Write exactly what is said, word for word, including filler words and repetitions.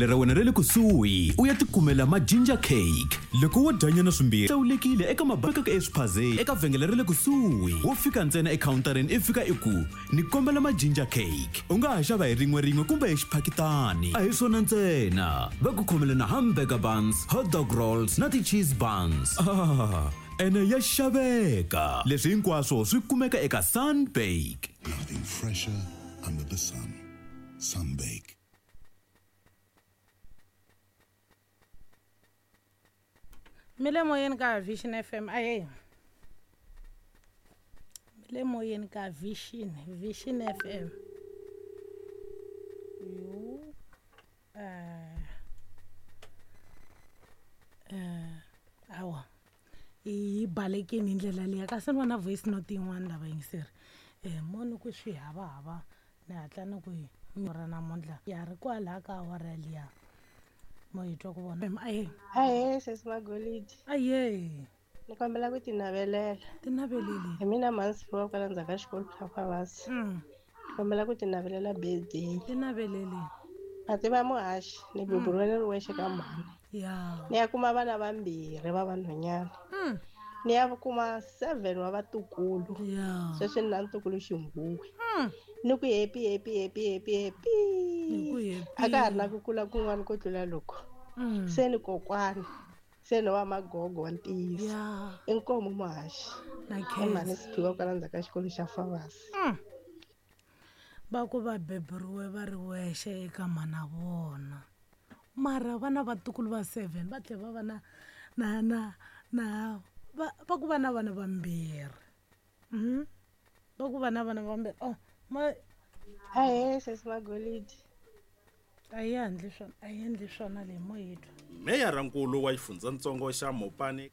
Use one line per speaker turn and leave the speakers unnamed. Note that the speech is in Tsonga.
Ra wena ra le kusuhi u ya tikumela ma-ginger cake loko wo dyanyana swimbirhi hlawulekile eka mabakaka eswiphazeni eka vhengele ra le kusuhi wo fika ntsena ekhawuntarini i fika i ku ni kombela ma-ginger cake u nga ha xava hi rin'we rin'we kumbe hi xiphakitani a hi swona ntsena va ku khomela na hamburger buns, hot dog rolls na ti-cheese buns. Ah, ene ya xaveka leswi hinkwaswo swi kumeka eka Sunbake.
Nothing fresher under the sun. Sunbake.
Mi le moyeni ka Vision F M. Ahe, mi le moyeni ka Vision Vision F M. Yo, eh eh awa, yi balekini hi ndlela liya, kasi ni vona voice note yin'wana lava yingiseri um mo ni ku swi hava hava ni hatla ni ku hi ra namuntlha ya ri kwalaha ka awara liya mo hi twa ku vona. Ahe.
Ahee, sesi Magolidi.
Aye.
Ni kombela ku tinavelela.
Tinaveleli.
Hi mina Mansiwa kwala ndzhaku ka xikolo xa Fawasi.
Mm.
Ni kombela ku tinavelela birthday.
Tinaveleli.
Ma tiva muhaxi, ni beburiwe ni ri wexe ka mhani.
Ya.
Ni ya kuma vana vambirhi va vanhwanyana.
Mm.
Ni ya kuma seven wa vatukulu.
Ya.
Sweswi ni na ntukulu xinghuwe.
Mm.
Ni ku happy, happy, happy, happy, happy.
Ni ku happy.
A ka ha ri na ku kula kun'wana ko tlula loko.
Mm.
Se ni kokwani, se ni wa magogo wa ntiyiso.
Ya.
Inkomu muhaxi.
Na
I mhani
khensa.
Siphiwa kwala ndzhaku ka xikolo xa Fawasi.
Mm. Va ku va beburiwe va ri wexe eka mhana vona, mara va na vatukulu va seven, va tlhela va va na na na na va va ku va na vana vambirhi. mm va ku va na vana vambirhi. Oh ma.
Ahee, sesi Magolidi.
A yi endli swona, a yi endli swona leyi mo yi twa.
Meyarankulu wa xifundzatsongo xa Mopani.